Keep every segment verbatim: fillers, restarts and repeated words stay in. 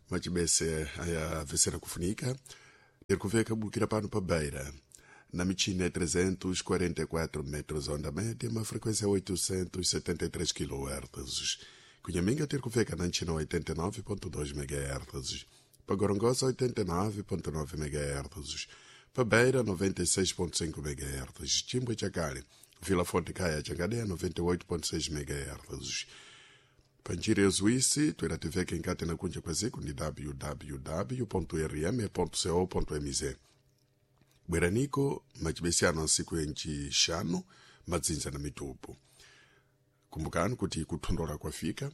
Machibese ayavesera kufunika tiri kuveka bukira pano pa Beira na michina ya trezentos e quarenta e quatro metros onda média, uma frequência oitocentos e setenta e três quilohertz. Cunhaminga ter kuveka na Nchina oitenta e nove ponto dois megahertz, pa Gorongosa oitenta e nove ponto nove megahertz, pa Beira noventa e seis ponto cinco megahertz, Chimbwe Chakale, Vila Fonte Caia Changadeia noventa e oito ponto seis megahertz. Panjira ya Zuísi, twera tiveke nkati na kunja kwa ziku ni w w w ponto r m ponto co ponto m z. Bweraniko machibesiano ansiku enchixanu madzinza na mitupu. Kumbukani kuti kuthondola kwafika,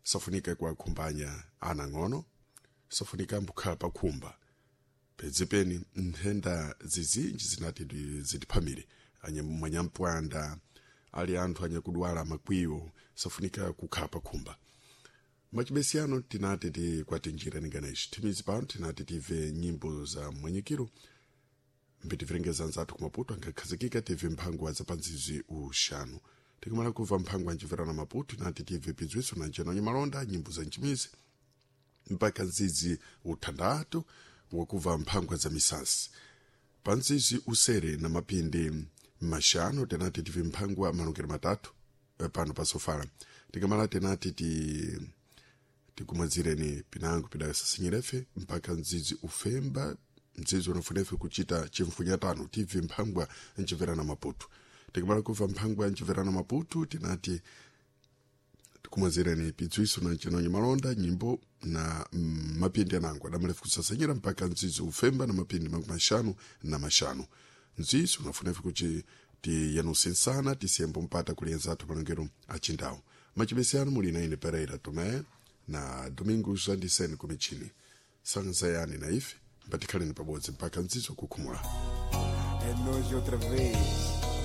safunika kuakhumbanya ana ng'ono, safunika mbukhala pakhumba. Pedzipeni nthenda zizinji zinati zitiphamire, anyampwanda, ali anthu anyakudwala makwiyo, safunika kukhala pakhumba. Machibesiano tinati tikwatinjira ninganeshi. Thimizi pano tinati tive nyimbo za mwanyikiro, mbitivirengeza nzathu kumaputo angakhazikika tive mphango za panzizi uxanu. Tikumala kuva mphango ancivera na Maputo nati tive pidzwiso na nceno nyimalonda nyimbo za ncimizi mpaka nzizi uthandatu wakuva mphango za misasi. Panzizi usere na mapindi maxanu tinati tive mphango malongero matatu pano pasofala. Tikamala tinati ti tikumwazireni pinango pidasasinyirefe mpaka nzizi ufemba mzizi unafunefe kuchita chimfunyatano tive mphangwa ncimvera na Maputo. Tikamala kuva mphangwa ncimvera na Maputo tinati tikumwazireni pidzwiso na nchenonyi malonda nyimbo na mm, mapindi anango adamalefu kusasanyira mpaka mzizi ufemba na mapindi makumi maxanu na maxanu. Mzizi unafunefe kuti tiyanusensana tisiyembo mpata kulienza athu malongero achindawu. Machibesiano muli na ine Pereira Tomé na Domingos Andiseni kumichini. Sanzayani na ife mpatikhaleni pabodzi mpaka mzizi kukhumula. É nós outra vez.